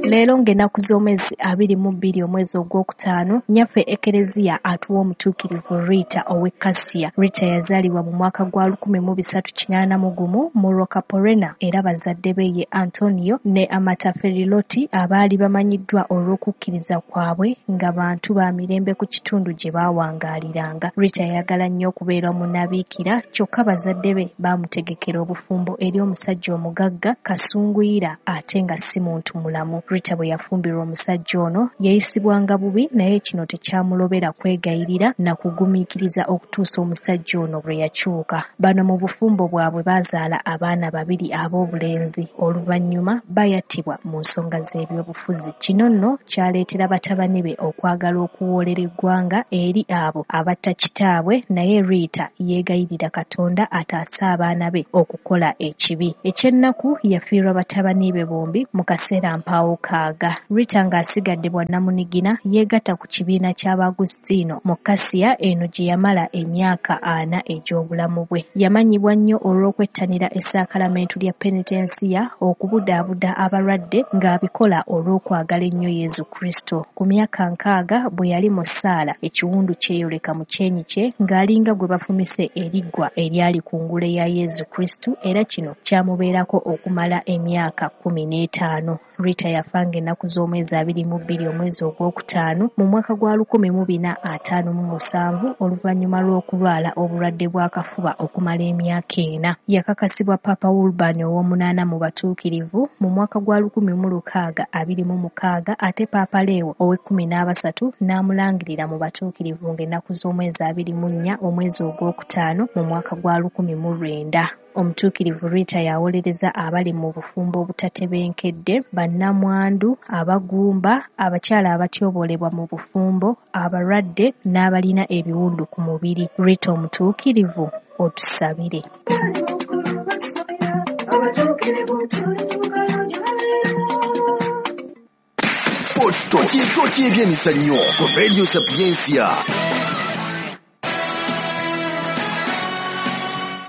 Leero ng'ennaku z'omwezi abiri mu bbiri omwezi ogwokutaano, nnyaffe Ekereziya atuwa omutuukirivu Rita ow'e Kasiya. Rita yazaalibwa mu mwaka gwa lukumi mu bisatu kinaana mu gumu mu Roccaporena, era bazadde be ye Antonio ne Amata Feriloti abaali bamanyiddwa olw'okukkiriza kwabwe nga bantu ba mirembe ku kitundu gye baawangaaliranga. Rita yayagala nnyo okubeera omunnabiikira, kyokka bazadde be baamutegekera obufumbo eri omusajja omugagga Kasunguyira ate nga si muntu mulamu. Rita bwe yafumbirwa omusajja ono yayisibwanga bubi, naye kino tekyamulobera kwegayirira na kugumiikiriza okutuusa omusajja ono lwe yakyuka. Bano mu bufumbo bwabwe baazaala abaana babiri ab'obulenzi, oluvannyuma bayattibwa mu nsonga z'ebyobufuzi. Kino nno kyaleetera batabani be okwagala okuwoolera eggwanga eri abo abatta kitaabwe, naye Rita yeegayirira Katonda ataase abaana be okukola ekibi. Ekyennaku yafiirwa batabani be bombi mu kaseera mpaawo mukaaga. Rita ng'asigadde bwannamunigina yeegatta ku kibiina ky'Abaagusitino mu Kasiya eno gye yamala emyaka ana egy'obulamu bwe. Yamanyibwa nnyo olw'okwettanira essaakalamentu lya penitensiya, okubudaabuda abalwadde ng'abikola olw'okwagala ennyo Yesu Kristo. Ku myaka nkaaga bwe yali mu ssaala, ekiwundu kyeyoleka mu kyenyi kye ng'alinga gwe bafumise eriggwa eryali ku ngule ya Yesu Kristo, era kino kyamubeerako okumala emyaka kkumi n'etaano. Rita yafanga ennaku z'omwezi abiri mu bbiri omwezi ogwokutaano mu mwaka gwa lukumi mu bina ataano mu musanvu oluvannyuma lw'okulwala obulwadde bw'akafuba okumala emyaka ena. Yakakasibwa Papa Urban ow'omunaana mu batuukirivu mu mwaka gwa lukumi mu lukaaga abiri mu mukaaga, ate Papa Leo ow'ekkumi n'abasatu n'amulangirira mu batuukirivu ng'ennaku z'omwezi abiri mu nnya omwezi ogwokutaano mu mwaka gwa lukumi mu lwenda. Omutuukirivu Rita yawolereza abali mu bufumbo obutatebenkedde, bannamwandu, abagumba, abakyala abatyoboolebwa mu bufumbo, abalwadde n'abalina ebiwundu ku mubiri. Rita omutuukirivu, otusabire. Sports Talk, Talk y'ebyemizannyo ku Radio Sapientia.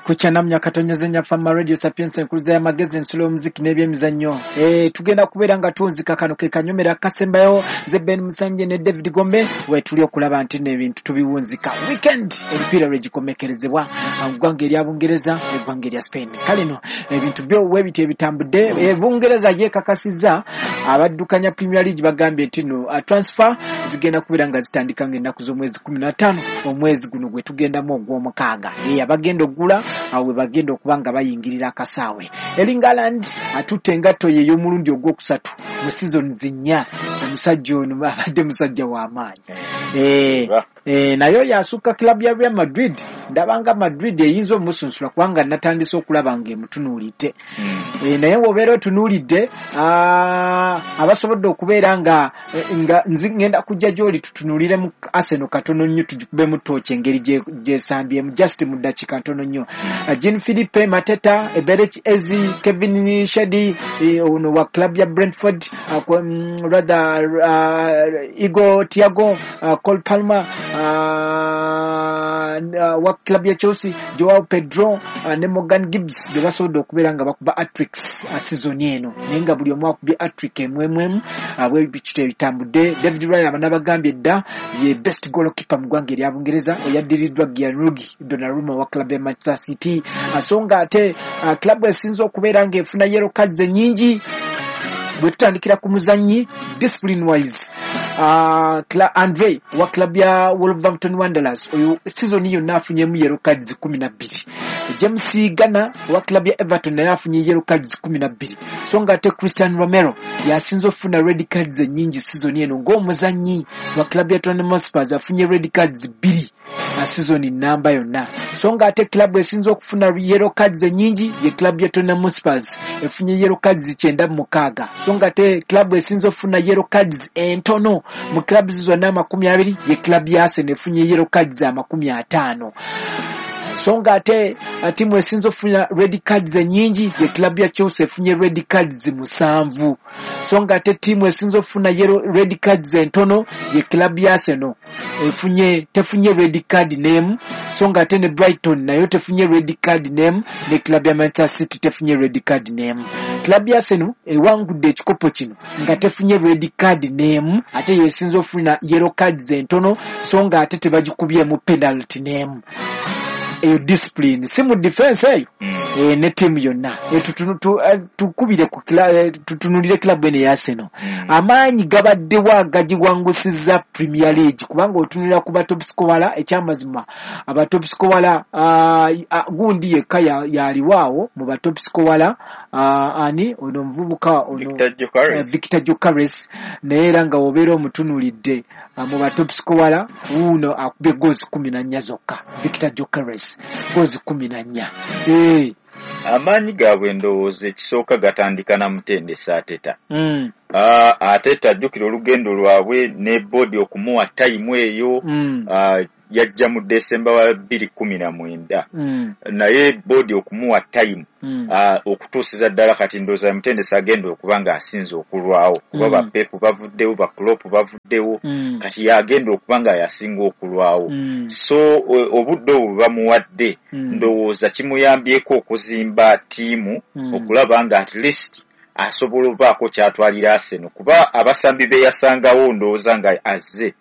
Kuchanamnya katonyeze nyafama Radio Sapientia enkuluza y'amagezi ensulo y'omuziki n'ebyemizannyo. Eh, tugenda kubeera nga tunzika kano ke kanyomera akasembayo. Nze Ben Musanje ne David Gombe we tuli okulaba nti n'ebintu tubiwunzika. Weekend emipiira lwegikomekerezebwa mu ggwanga erya Bungereza eggwanga erya Spain. Kale no ebintu byo webiti ebitambudde. E, Bungereza yeekakasizza abaddukanya Premier League bagambye nti no transfer zigenda kubeera nga zitandika ng'ennaku z'omwezi kkumi na ttaano omwezi guno gwe tugendamu ogw'omukaaga. Eh, abagenda oggula awe bagenda okuba nga bayingirira akasaawe. Erling Haaland atutte engatto ye ey'omulundi ogwokusatu mu seasons nnya. Omusajja ono abadde musajja w'amaanyi. Eh, eh, naye yasukka club ya Real Madrid. Ndabanga Madrid eyinza omusunsula kubanga natandise okulaba ng'emutunuulidde. Eh, naye bw'obeera otunuulidde abasobodde okubeera nga nga ngenda kujja gy'oli tutunuulire mu Arsenal katono nnyo tugikubemu ttooki engeri gy'esambyemu just mu ddakiika ntono nnyo. Jean Philippe Mateta, Eberechi Eze, Kevin Shedi ono wa club ya Brentford, uh, rather uh, Igor Thiago, uh, Cole Palmer uh, uh, wa club ya Chelsea, Joao Pedro uh, ne Morgan Gibbs be basobodde okubeera nga bakuba hat-tricks uh, season eno, naye nga buli omu akubye hat-trick emu emu emu. uh, bwe bitambudde. David Raya banabagambye dda ye best goalkeeper mu ggwanga erya Bungereza, oyaddiriddwa Gianluigi Donnarumma wa club ya Manchester City. So nga ate uh, club esinze okubeera ng'efuna yellow cards ennyingi bwe tutandikira ku muzannyi discipline wise, uh, Andre wa club ya Wolverhampton Wanderers oyo season yonna afunyemu yellow cards kumi na bbiri. James Garner wa club ya Everton naye afunye yellow cards kumi na bbiri. So nga ate Christian Romero yasinze okufuna red cards ennyingi season eno ng'omuzannyi wa club ya Tottenham Hotspur afunye red cards bbiri season namba yonna. So nga ate club esinze okufuna yellow cards ennyingi ye club ya Tottenham Hotspur efunye yellow cards kyenda mu mukaaga. So nga ate club esinze okufuna yellow cards entono mu clubs zonna amakumi abiri ye club ya Arsenal efunye yellow cards amakumi ataano. So nga ate timu esinze okufuna red cards ennyingi ye club ya Chelsea efunye red cards musanvu. So nga ate timu esinze okufuna yellow red cards entono ye club ya Arsenal efunye tefunye red card name. So nga ate ne Brighton nayo tefunye red card name, ne club ya Manchester City tefunye red card name. Club ya Arsenal ewangudde ekikopo kino nga tefunye red card name, ate yesinze okufuna yellow cards entono, so nga ate tebagikubyemu penalty name. Eyo discipline si mu defense eyo mm. E, ne team yonna e, tukubire ku tutunulire club eno ya Arsenal mm. Amaanyi gabaddewo agagiwangusizza Premier League kubanga otunulira ku ba top scorer ekyamazima aba top scorer uh, uh, gundi yekka yaliwaawo mu ba top scorer uh, ani ono omuvubuka ono Victor Gyökeres uh, Victor Gyökeres naye era nga obeera omutunuulidde uh, mu ba top scorer wuuno akubye goals kumi na nnya zokka. Victor Gyökeres goals kumi na nnya. Eh, amaanyi gaabwe ndowooza ekisooka gatandika na mutendesi Arteta. Mm. Uh, Arteta ajjukira olugendo lwabwe ne boodi okumuwa tayimu eyo. Mm. Uh, yajja mu December wa bbiri kkumi na mwenda mm. naye board okumuwa time mm. uh, okutuusiza ddala kati ndowooza mutendesi agenda okuba nga asinze okulwawo kuba mm. ba Pep bavuddewo, ba Klopp bavuddewo mm. kati yagenda okuba nga yasinga okulwawo mm. so obudde obwo bamuwadde mm. ndowooza kimuyambyeko okuzimba ttiimu mm. okulaba nga at least asobola obaako kyatwalira Arsenal kuba abasambi be yasangawo ndowooza nga azze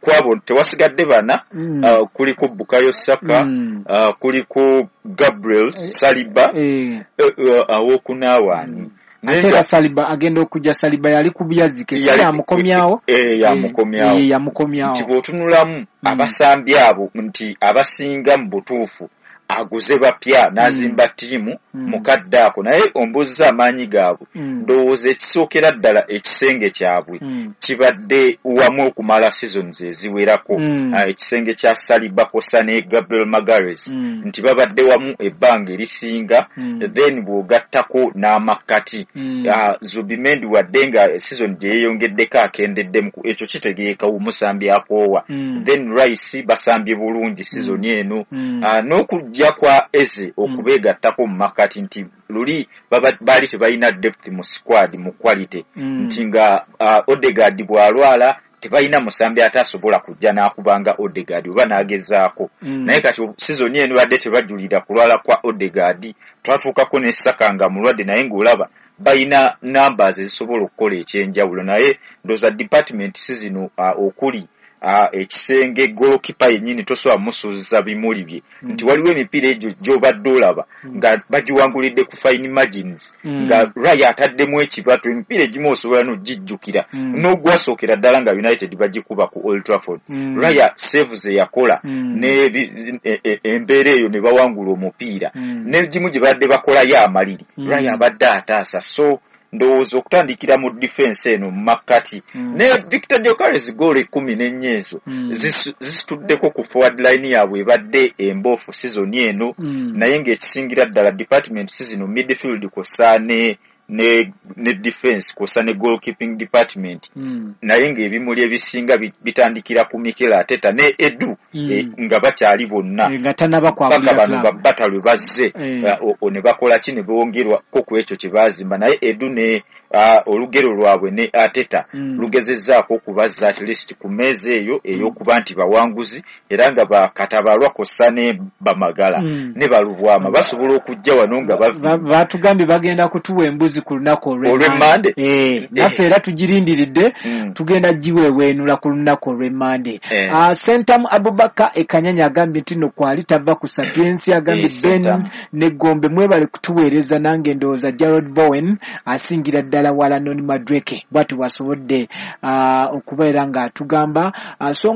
kwabo tewasigadde bana mm. uh, kuliko Bukayo Saka mm. uh, kuliko Gabriel Saliba eh. uh, uh, awokunaawaani mm. ate era Saliba agenda okujja, Saliba yali ku byazike Yali- yamukomyawo eh, yamukomyawo Eh, yamukomyawo nti bw'otunulamu Mm. abasambi abo nti abasinga mu butuufu aguze bapya n'azimba ttiimu Mm. mukadde ako, naye ombuuziza amaanyi gaabwe Mm. ndowooza ekisookera ddala ekisenge kyabwe Mm. kibadde wamu okumala seasons eziwerako Mm. Ah, ekisenge kya Saliba kw'ossa ne Gabriel Magalhaes Mm. nti babadde wamu ebbanga erisinga Mm. then bw'ogattako n'amakkati Mm. Ah, Zubimendi wadde nga season gye yeeyongeddeko akendeddemu, ekyo kitegeeka omusambi akoowa Mm. then Rice basambye bulungi season eno Mm. Ah, n'okujja kwa Eze okubeegattako mu makkati nti luli baba- baali tebalina depth mu squad mu quality Mm. nti nga uh, Odegaard bw'alwala tebalina musambi ate asobola kujja n'akubanga Odegaard oba n'agezaako Mm. naye kati season eno badde tebajulira kulwala kwa Odegaard, twatuukako ne Saka nga mulwadde naye ng'olaba balina numbers ezisobola okukola ekyenjawulo naye ndowooza department si zino uh, okuli uh, ekisenge goalkeeper yennyini tosobola musuuziza bimuli bye Mm. nti waliwo emipiira egyo gy'obadde olaba nga bagiwangulidde ku fine margins Mm. nga Raya ataddemu ekibatu emipiira egimu osobola n'ogijjukira Mm. n'ogwasookera ddala nga United bagikuba ku Old Trafford Mm. Raya save ze yakola Mm. n'ebi- e- e- embeera eyo ne bawangula omupiira Mm. n'egimu gye badde bakolayo amaliri Mm. Raya abadde ataasa so ndowooza okutandikira mu defense eno mu makkati Mm. ne Victor Gyökeres goolo ekkumi n'ennya ezo Mm. zisu- zisituddeko ku forward line yaabwe ebadde emboofu season eno Mm. naye ng'ekisingira ddala department si zino midfield kw'ossa ne ne ne defense kw'ossa ne goalkeeping department Mm. naye ng'ebimuli ebisinga bi- bitandikira ku Mikel Arteta ne Edu Mm. eh, nga bakyali bonna Eh, nga tannaba paka kwabulira bano club. babata lwe bazze Eh. eh, o- o ne bakola ki ne bongerwako ku ekyo kye baazimba naye Edu ne ah, olugero lwabwe ne Arteta Mm. lugezezzaako okubazza at least ku mmeeza eyo ey'okuba nti bawanguzi era nga bakatabalwa kw'ossa ne bamagala Mm. ne balubwama basobola okujja wano nga Ba- bavi batugambye bagenda kutuwa embuzi ku lunaku Olw'Emmande? Eh, naffe era tugirindiridde Mm. tugenda giweeweenula ku lunaku olw'Emmande. Eh. Ah, Sentamu Abubakar Ekanyanya agambye nti no kwali tava ku Sapiensi agambye Eh, Ben Sentamu. ne Gombe mwebale kutuweereza nange ndowooza Gerald Bowen asingira ddala wala Noni Madueke bw'atyo bw'asobodde ah, okubeera ng'atugamba. Ah, so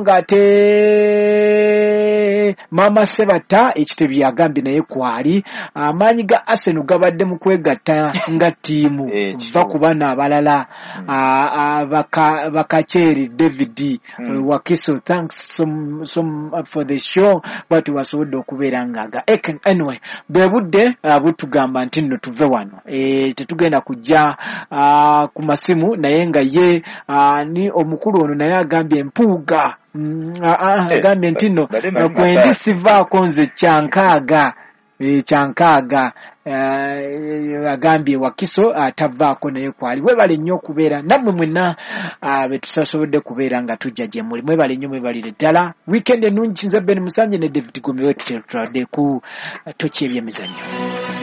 ng'ate Maama Sebatta ekitebi agambye naye kwali amaanyi ga Arsenal gabadde mu kwegatta nga ttiimu Eh, va ku bano abalala Mm. Ah, ah, baka- Bakakyeri David Mm. eh, Wakiso thanks so, so for the show bwatyo bwasobodde okubeera ng'aga Eken- anyway bwe budde ah, butugamba nti nno tuve wano Eh, tetugenda kujja ah, ku masimu naye nga ye ah, ni omukulu ono naye agambye Mpuuga Mm, ah, ah, Eh, agambye nti nno badde manyi kwendi Mataayo. sivaako nze kyankaaga eh, kyankaaga eh, agambye Wakiso atavaako naye kwali webale nnyo okubeera nammwe mwenna ah, be tusasobodde kubeera nga tujja gye muli mwebale nnyo mwebalire ddala weekend ennungi nze Ben Musanje ne David Gombe wetutradde ku toki ebyemizannyo.